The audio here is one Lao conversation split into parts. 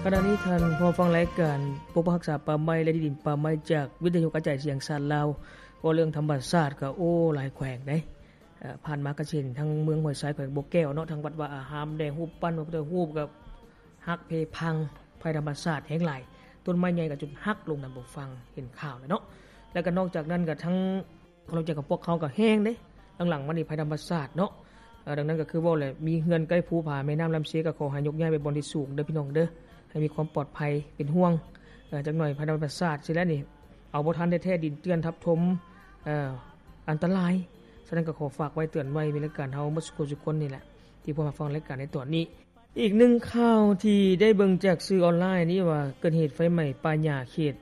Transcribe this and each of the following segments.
ຂະນະນີ້ທ່ານຜູ້ຟັງລາຍການປົກປັກຮັກສາປ່າໄມ້ ແລະ ທີ່ດິນປ່າໄມ້ຈາກວິທະຍຸກະຈາຍສຽງຊາດລາວ ເວົ້າເລື່ອງທຳມະຊາດກໍ ໂອ້ ຫຼາຍແຂວງເດ້. ເອີ ຜ່ານມາກໍຊິເຫັນທາງເມືອງຫ້ວຍຊາຍ ແຂວງບໍ່ແກ້ວເນາະ, ທາງວັດວາອາຮາມແດ່, ຮູບປັ້ນພະພຸດທະຮູບກໍຫັກເພພັງ, ໄພທຳມະຊາດແຮງຫຼາຍ, ຕົ້ນໄມ້ໃຫຍ່ກໍຈົນຫັກລົງ, ທ່ານຜູ້ຟັງເຫັນຂ່າວແລ້ວເນາະ. ແລ້ວກໍນອກຈາກນັ້ນກໍທັງ ເຂົາເຈົ້າກໍ ພວກເຂົາກໍແຮງເດ້ ຫຼັງໆມານີ້ໄພທຳມະຊາດເນາະ. ເອີ ດັ່ງນັ້ນກໍຄືເວົ້າແຫຼະ ມີເຮືອນໃກ້ພູຜາແມ່ນ້ຳລຳເຊ ກໍຂໍໃຫ້ຍົກຍ້າຍໄປບ່ອນທີ່ສູງເດີພີ່ນ້ອງເດີ ໃຫ້ມີຄວາມປອດໄພ ເປັນຫ່ວງ. ເອີ ຈັກໜ້ອຍໄພທຳມະຊາດຊິແລ້ວນີ້ ເອົາບໍ່ທັນແທ້ໆ ດິນເຈື່ອນທັບຖົມ ເອີ ອັນຕະລາຍ. ສະນັ້ນກໍຂໍຝາກໄວ້ເຕືອນໄວ້ ມີລາຍການເຮົາໝົດສູ່ຄົນນີ້ແຫຼະ ທີ່ພວມມາຟັງລາຍການໃນຕອນນີ້. ອີກໜຶ່ງຂ່າວທີ່ໄດ້ເບິ່ງຈາກສື່ອອນລາຍນີ້ວ່າ ເກີດເຫດໄຟໄໝ້ປ່າຫຍ້າເຂດ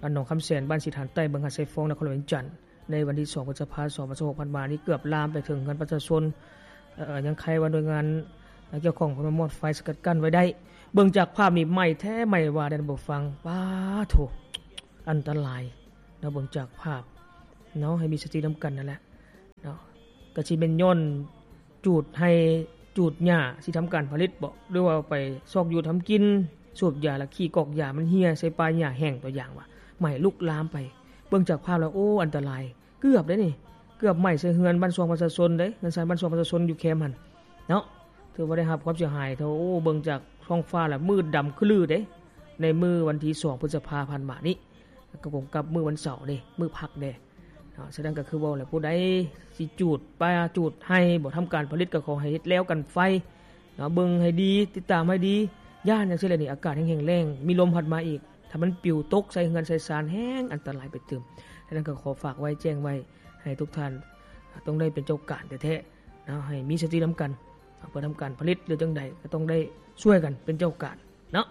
ບ້ານໜອງຄຳແສນ ບ້ານສີຖານໃຕ້ ເມືອງຫາດຊາຍຟອງ ນະຄອນຫຼວງວຽງຈັນ ໃນວັນທີສອງ ພຶດສະພາ ສອງພັນຊາວຫົກ ຜ່ານມານີ້ ເກືອບລາມໄປເຖິງເຮືອນປະຊາຊົນ. ເອີ ຍັງໄຄວ່າໜ່ວຍງານກ່ຽວຂ້ອງເພິ່ນມາມອດໄຟສະກັດກັ້ນໄວ້ໄດ້. ເບິ່ງຈາກພາບນີ້ໄໝ້ແທ້ໄໝ້ວ່າເດ້ທ່ານຜູ້ຟັງ. ປາໂທ້ ອັນຕະລາຍເນາະ ເບິ່ງຈາກພາບເນາະ. ໃຫ້ມີສະຕິນຳກັນນັ້ນແຫຼະເນາະ. ກະຊິແມ່ນຍ້ອນຈູດໄຮ່ຈູດຫຍ້າຊິທຳການຜະລິດບໍ ຫຼືວ່າໄປຊອກຢູ່ທຳກິນ ສູບຢາລະຂີ້ກອກຢາມັນເຫ່ຍໃສ່ປ່າຫຍ້າແຫ້ງ ຕົວຢ່າງວ່າ ໄໝ້ລຸກລາມໄປ. ເບິ່ງຈາກພາບແລ້ວ ໂອ້ ອັນຕະລາຍ ເກືອບເດ້ນີ້ ເກືອບໄໝ້ໃສ່ເຮືອນບ້ານຊ່ອງປະຊາຊົນເດ້ ເຮືອນຊານບ້ານຊ່ອງປະຊາຊົນຢູ່ແຄມຫັ້ນເນາະ. ຖືວ່າໄດ້ຮັບຄວາມເສຍຫາຍ. ໂອ້ ເບິ່ງຈາກທ້ອງຟ້າແລ້ວມືດດຳຄະລືເດ້ ໃນມື້ວັນທີສອງ ພຶດສະພາ ຜ່ານມານີ້ ກໍກົງກັບມື້ວັນເສົາເດ້ ມື້ພັກເດ້. ເນາະ ສະນັ້ນກໍຄືເວົ້າແຫຼະ ຜູ້ໃດຊິຈູດປ່າຈູດໄຮ່ບໍ ທຳການຜະລິດ ກໍຂໍໃຫ້ເຮັດແລ້ວກັນໄຟເນາະ. ເບິ່ງໃຫ້ດີ ຕິດຕາມໃຫ້ດີ ຢ້ານຈັ່ງຊີ້ແຫຼະນີ້ ອາກາດແຫ້ງແລ້ງ ມີລົມພັດມາອີກ ຖ້າມັນປິວຕົກໃສ່ເຮືອນໃສ່ຊານ ແຮງອັນຕະລາຍໄປຕື່ມ. ສະນັ້ນກໍຂໍຝາກໄວ້ ແຈ້ງໄວ້ໃຫ້ທຸກທ່ານ ຕ້ອງໄດ້ເປັນເຈົ້າການແທ້ໆເນາະ ໃຫ້ມີສະຕິນຳກັນ ເພື່ອທຳການຜະລິດ ຫຼືຈັ່ງໃດກໍຕ້ອງໄດ້ຊ່ວຍກັນເປັນເຈົ້າການ. ເນາະ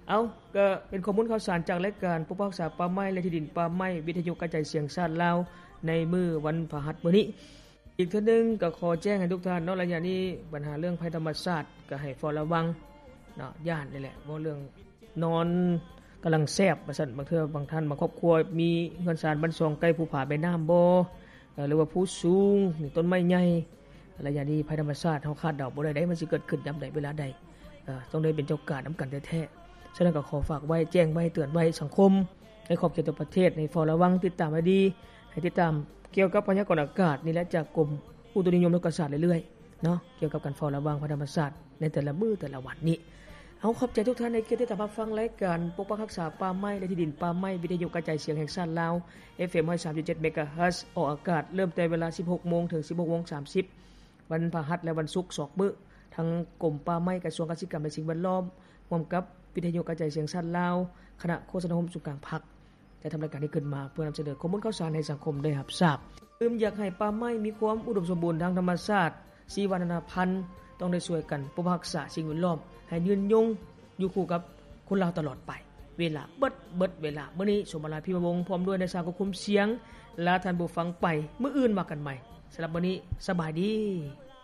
ເອົາ ກໍເປັນຂໍ້ມູນຂ່າວສານຈາກລາຍການປົກປັກຮັກສາປ່າໄມ້ ແລະ ທີ່ດິນປ່າໄມ້ ວິທະຍຸກະຈາຍສຽງຊາດລາວ ໃນມື້ວັນພະຫັດມື້ນີ້. ອີກເທື່ອໜຶ່ງກໍຂໍແຈ້ງໃຫ້ທຸກທ່ານເນາະ ໄລຍະນີ້ບັນຫາເລື່ອງໄພທຳມະຊາດກໍໃຫ້ເຝົ້າລະວັງເນາະ. ຢ້ານນີ້ແຫຼະ ເວົ້າເລື່ອງນອນກຳລັງແຊບວ່າຊັ້ນ ບາງເທື່ອບາງທ່ານ ບາງຄອບຄົວມີເຮືອນຊານບ້ານຊ່ອງໃກ້ພູຜາແມ່ນ້ຳບໍ ເອີ ຫຼືວ່າພູສູງ ມີຕົ້ນໄມ້ໃຫຍ່ ໄລຍະນີ້ໄພທຳມະຊາດເຮົາຄາດເດົາບໍ່ໄດ້ເດ້ ມັນຊິເກີດຂຶ້ນຍາມໃດເວລາໃດ. ເອີ ຕ້ອງໄດ້ເປັນເຈົ້າການນຳກັນແທ້ໆ. ສະນັ້ນກໍຂໍຝາກໄວ້ ແຈ້ງໄວ້ ເຕືອນໄວ້ສັງຄົມໃນຂອບເຂດທົ່ວປະເທດ ໃຫ້ເຝົ້າລະວັງ ຕິດຕາມໃຫ້ດີ ໃຫ້ຕິດຕາມກ່ຽວກັບພະຍາກອນອາກາດນີ້ແຫຼະ ຈາກກົມອຸຕຸນິຍົມໂລກະສາດເລື້ອຍໆເນາະ ກ່ຽວກັບການເຝົ້າລະວັງໄພທຳມະຊາດໃນແຕ່ລະມື້ແຕ່ລະວັນນີ້. ເອົາ ຂອບໃຈທຸກທ່ານໃນການຕິດຕາມຮັບຟັງລາຍການປົກປັກຮັກສາປ່າໄມ້ ແລະ ທີ່ດິນປ່າໄມ້ ວິທະຍຸກະຈາຍສຽງແຫ່ງຊາດລາວ ເອັຟເອັມ ຮ້ອຍສາມຈຸດເຈັດ ເມກາເຮີດ ອອກອາກາດເລີ່ມແຕ່ເວລາສິບຫົກໂມງເຖິງສິບຫົກໂມງສາມສິບ ວັນພະຫັດ ແລະ ວັນສຸກສອງມື້. ທາງກົມປ່າໄມ້ ກະຊວງກະສິກຳ ແລະ ສິ່ງແວດລ້ອມ ຮ່ວມກັບວິທະຍຸກະຈາຍສຽງຊາດລາວ ຄະນະໂຄສະນາອົບຮົມສູນກາງພັກ ໄດ້ທຳລາຍການນີ້ຂຶ້ນມາ ເພື່ອນຳສະເໜີຂໍ້ມູນຂ່າວສານໃຫ້ສັງຄົມໄດ້ຮັບຊາບ. ຕື່ມຢາກໃຫ້ປ່າໄມ້ມີຄວາມອຸດົມສົມບູນທາງທຳມະຊາດ, ຊີວະນານາພັນ, ຕ້ອງໄດ້ຊ່ວຍກັນປົກປັກຮັກສາສິ່ງແວດລ້ອມໃຫ້ຍືນຍົງຢູ່ຄູ່ກັບຄົນລາວຕະຫຼອດໄປ. ເວລາເບິດ, ເບິດເວລາ. ມື້ນີ້ ສົມມະລາ ພິມະວົງ ພ້ອມດ້ວຍນາຍຊ່າງຄວບຄຸມສຽງ ລາທ່ານຜູ້ຟັງໄປ. ມື້ອື່ນວ່າກັນໃໝ່. ສຳລັບມື້ນີ້ ສະບາຍດີ.